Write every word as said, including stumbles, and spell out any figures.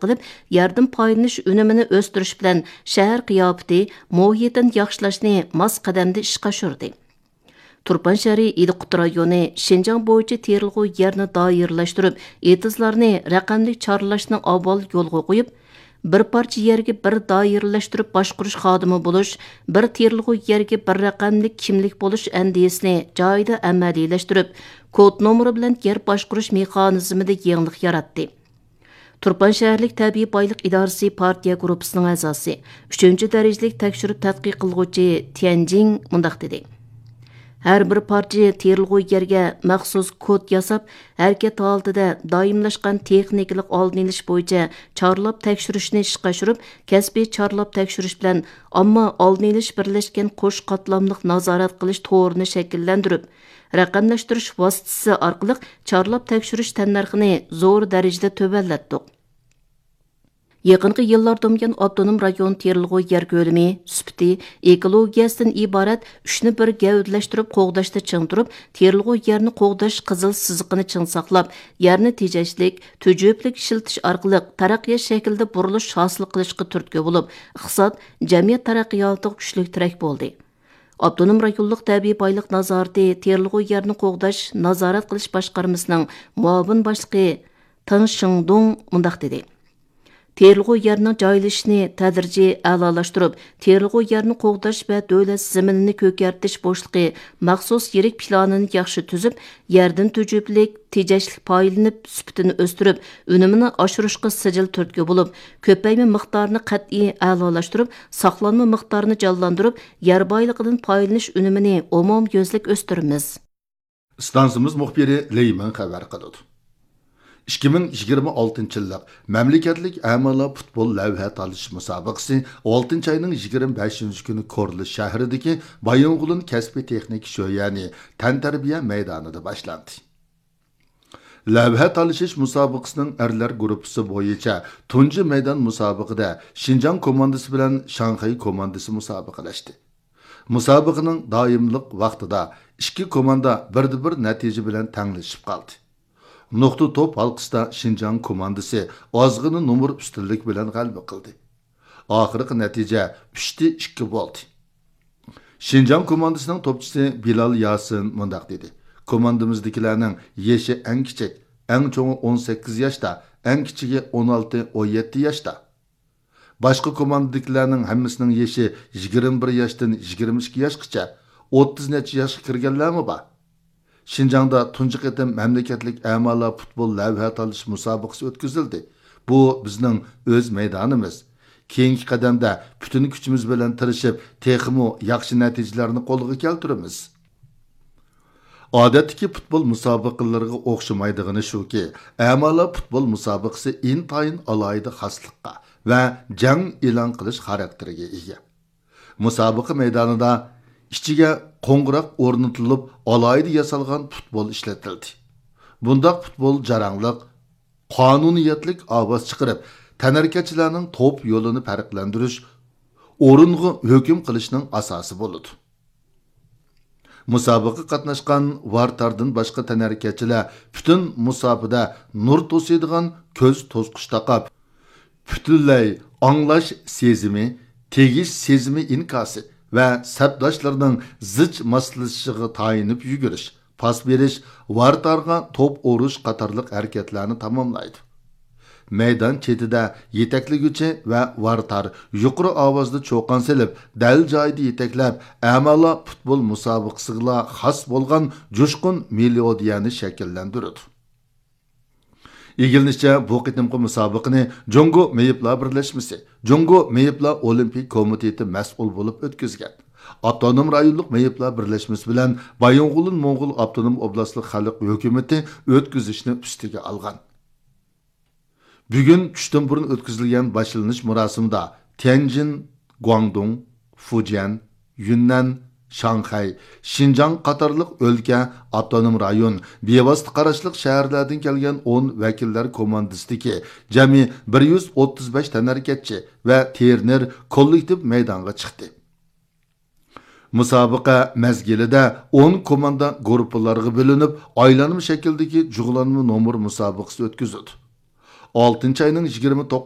قىلىپ، يەردىن پايدىلىنىش ئۈنۈمىنى ئۆستۈرۈش بىلەن شەھەر قىياپىتى، مۇھىتىنى ياخشىلاشنى ماس قەدەمدە ئىشقا ئاشۇردى. تۇرپان شەھىرى ئىلى قۇترا رايونى شىنجاڭ بويىچە تېرىلغۇ يەرنى دائىرىلەشتۈرۈپ، ئېتىزلارنى رەقەملىك چارلاشنى ئاۋۋال يولغا قويۇپ، بىر پارچە يەرگە بىر دائىرىلەشتۈرۈپ باشقۇرۇش خادىمى بولۇش، بىر تېرىلغۇ يەرگە بىر رەقەملىك كىملىك بولۇش ئەندىزىسىنى جايىدا ئەمەلىيلەشتۈرۈپ، كود نومۇرى بىلەن يەر باشقۇرۇش مېخانىزمىدا يېڭىلىق ياراتتى. تۇرپان شەھەرلىك تەبىئىي بايلىق ئىدارىسى پارتىيە گۇرۇپپىسىنىڭ ئەزاسى، ئۈچىنچى دەرىجىلىك تەكشۈرۈپ تەتقىق قىلغۇچى تيەنجىڭ مۇنداق دېدى: ھەر بىر پارچە تېرىلغۇ يەرگە مەخسۇس كود ياساپ، ھەرىكەت ھالىتىدە دائىملاشقان تېخنىكىلىق ئالدىنى ئېلىش بويىچە چارلاپ تەكشۈرۈشنى ئىشقا ئاشۇرۇپ، كەسپىي چارلاپ تەكشۈرۈش بىلەن ئامما ئالدىنى ئېلىش بىرلەشكەن قوش قاتلاملىق نازارەت قىلىش تورىنى شەكىللەندۈرۈپ، رەقەملەشتۈرۈش ۋاسىتىسى ئارقىلىق چارلاپ تەكشۈرۈش تەننەرخىنى زور دەرىجىدە تۆۋەنلەتتۇق. يېقىنقى يىللاردىن بۇيان، ئاپتونوم رايون تېرىلغۇ يەر كۆلىمى، سۈپىتى، ئېكولوگىيەسىدىن ئىبارەت ئۈچنى بىر گەۋدىلەشتۈرۈپ قوغداشتا چىڭ تۇرۇپ، تېرىلغۇ يەرنى قوغداش قىزىل سىزىقىنى چىڭ ساقلاپ، يەرنى تېجەشلىك، تۈجۈپىلىك ئىشلىتىش ئارقىلىق تەرەققىيات شەكلىدە بۇرۇلۇش ھاسىل قىلىشقا تۈرتكە بولۇپ، ئىقتىساد، جەمئىيەت تەرەققىياتىغا كۈچلۈك تىرەك بولدى. ئاپتونوم رايونلۇق تەبىئىي بايلىق نازارىتى تېرىلغۇ يەرنى قوغداش، نازارەت قىلىش باشقارمىسىنىڭ مۇئاۋىن باشلىقى تېڭ شىڭدۇڭ مۇنداق دېدى: تېرىلغۇ يەرنىڭ جايلىشىشىنى تەدرىجىي ئەلالاشتۇرۇپ، تېرىلغۇ يەرنى قوغداش ۋە دۆلەت زېمىنىنى كۆكەرتىش بوشلۇقى مەخسۇس يىرىك پىلانىنى ياخشى تۈزۈپ، يەردىن تۈجۈپىلىك، تېجەشلىك پايدىلىنىپ، سۈپىتىنى ئۆستۈرۈپ، ئۈنۈمىنى ئاشۇرۇشقا سىجىل تۈرتكە بولۇپ، كۆپەيمە مىقدارىنى قەتئىي ئەلالاشتۇرۇپ، ساقلانما مىقدارىنى جانلاندۇرۇپ، يەر بايلىقىدىن پايدىلىنىش ئۈنۈمىنى ئومۇميۈزلۈك ئۆستۈرىمىز. ئىستانسىمىز مۇخبىرى لېي مىڭ خەۋەر قىلىدۇ. ئىككى مىڭ يىگىرمە ئالتىنچى يىللىق مەملىكەتلىك ئەمالا پۇتبول لەۋھە تالىشىش مۇسابىقىسى ئالتىنچى ئاينىڭ يىگىرمە بەشىنچى كۈنى كورلا شەھىرىدىكى بايىنغولىن كەسپىي تېخنىكا شۆيەنى تەنتەربىيە مەيدانىدا باشلاندى. لەۋھە تالىشىش مۇسابىقىسىنىڭ ئەرلەر گۇرۇپپىسى بويىچە تۇنجى مەيدان مۇسابىقىدە شىنجاڭ كوماندىسى بىلەن شاڭخەي كوماندىسى مۇسابىقىلەشتى. مۇسابىقىنىڭ داۋاملىق ۋاقتىدا ئىككى كوماندا بىردە بىر نەتىجە بىلەن تەڭلىشىپ قالدى. نۇقتا توپ ھالقىسىدا شىنجاڭ كوماندىسى ئازغىنە نومۇر ئۈستۈنلۈك بىلەن غەلىبە قىلدى. ئاخىرقى نەتىجە ئۈچتە ئىككى بولدى. شىنجاڭ كوماندىسىنىڭ توپچىسى بىلال ياسىن مۇنداق دېدى: كوماندىمىزدىكىلەرنىڭ يېشى ئەڭ كىچىك، ئەڭ چوڭى ئون سەككىز ياشتا، ئەڭ كىچىكى ئون ئالتە، ئون يەتتە ياشتا. باشقا كوماندىدىكىلەرنىڭ ھەممىسىنىڭ يېشى يىگىرمە بىر ياشتىن يىگىرمە ئىككى ياشقىچە، ئوتتۇز نەچچە ياشقا كىرگەنلەرمۇ بار. شىنجاڭدا تۇنجى قېتىم مەملىكەتلىك ئەمالا پۇتبول لەۋھە تالىشىش مۇسابىقىسى ئۆتكۈزۈلدى. بۇ بىزنىڭ ئۆز مەيدانىمىز. كېيىنكى قەدەمدە پۈتۈن كۈچىمىز بىلەن تىرىشىپ، تېخىمۇ ياخشى نەتىجىلەرنى قولغا كەلتۈرىمىز. ئادەتتىكى پۇتبول مۇسابىقىلىرىغا ئوخشىمايدىغىنى شۇكى، ئەمالا پۇتبول مۇسابىقىسى ئىنتايىن ئالاھىدە خاسلىققا ۋە جەڭ ئېلان قىلىش خاراكتېرىگە ئىگە. مۇسابىقە مەيدانىدا ئىچىگە قوڭغۇراق ئورنىتىلىپ، ئالاھىدە ياسالغان پۇتبول ئىشلىتىلدى. بۇنداق پۇتبول جاراڭلىق، قانۇنىيەتلىك ئاۋاز چىقىرىپ، تەنھەرىكەتچىلەرنىڭ توپ يولىنى پەرقلەندۈرۈش، ئورۇنغا ھۆكۈم قىلىشنىڭ ئاساسى بولىدۇ. مۇسابىقىگە قاتناشقان ۋارتاردىن باشقا تەنھەرىكەتچىلەر پۈتۈن مۇساپىدە نۇر توسۇيدىغان كۆز توسقۇچ تاقاپ، پۈتۈنلەي ئاڭلاش سېزىمى، تېگىش سېزىمى ئىنكاسى ۋە سەپداشلىرىنىڭ زىچ ماسلىشىشىغا تايىنىپ يۈگۈرۈش، پاس بېرىش، ۋارتارغا توپ ئۇرۇش قاتارلىق ھەرىكەتلەرنى تاماملايدۇ. مەيدان چېتىدە يېتەكلىگۈچى ۋە ۋارتار يۇقىرى ئاۋازدا چۇقان سېلىپ، دەل جايىدا يېتەكلەپ، ئەمالا پۇتبول مۇسابىقىسىغىلا خاس بولغان جۇشقۇن مېلودىيەنى شەكىللەندۈرىدۇ. ئىگىلىنىشىچە، بۇ قېتىمقى مۇسابىقىنى جۇڭگو مېيىپلار بىرلەشمىسى، جۇڭگو مېيىپلار ئولىمپىك كومىتېتى مەسئۇل بولۇپ ئۆتكۈزگەن. ئاپتونوم رايونلۇق مېيىپلار بىرلەشمىسى بىلەن بايىنغولىن موڭغۇل ئاپتونوم ئوبلاستلىق خەلق ھۆكۈمىتى ئۆتكۈزۈشنى ئۈستىگە ئالغان. بۈگۈن چۈشتىن بۇرۇن ئۆتكۈزۈلگەن باشلىنىش مۇراسىمىدا تيەنجىن، گۇاڭدۇڭ، فۇجيەن، يۈننەن، شاڭخەي، شىنجاڭ قاتارلىق ئۆلكە، ئاپتونوم رايون، بىۋاسىتە قاراشلىق شەھەرلەردىن كەلگەن ئون ۋەكىللەر كوماندىسىدىكى جەمئىي بىر يۈز ئوتتۇز بەش تەنھەرىكەتچى ۋە ترېنېر كوللېكتىپ مەيدانغا چىقتى. مۇسابىقە مەزگىلىدە ئون كوماندا گۇرۇپپىلارغا بۆلۈنۈپ، ئايلانما شەكىلدىكى جۇغلانما نومۇر مۇسابىقىسى ئۆتكۈزۈلدى. ئالتىنچى ئاينىڭ يىگىرمە توققۇزىنچى